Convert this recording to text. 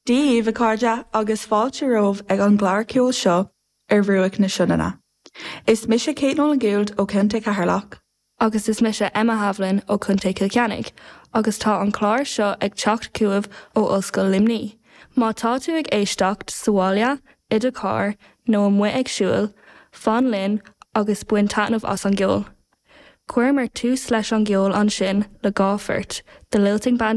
Dia dhaoibh, a chairde, agus fáilte romhaibh ag an gclár ceoil seo ar Bhruach na Sionainne. Is mise Kate Nolan Gould ó Chontae Cheatharlach. Agus is mise Emma Havlin ó Chontae Chill Chainnigh, agus tá an clár seo ag teacht chugaibh ó Ollscoil Luimnigh. Má tá tú ag éisteacht sa bhaile, i do charr, nó amuigh ag siúl, fan linn agus bain taitneamh as an gceol. Chuireamar tús leis an gceol ansin le dhá phort, The Lilting Band.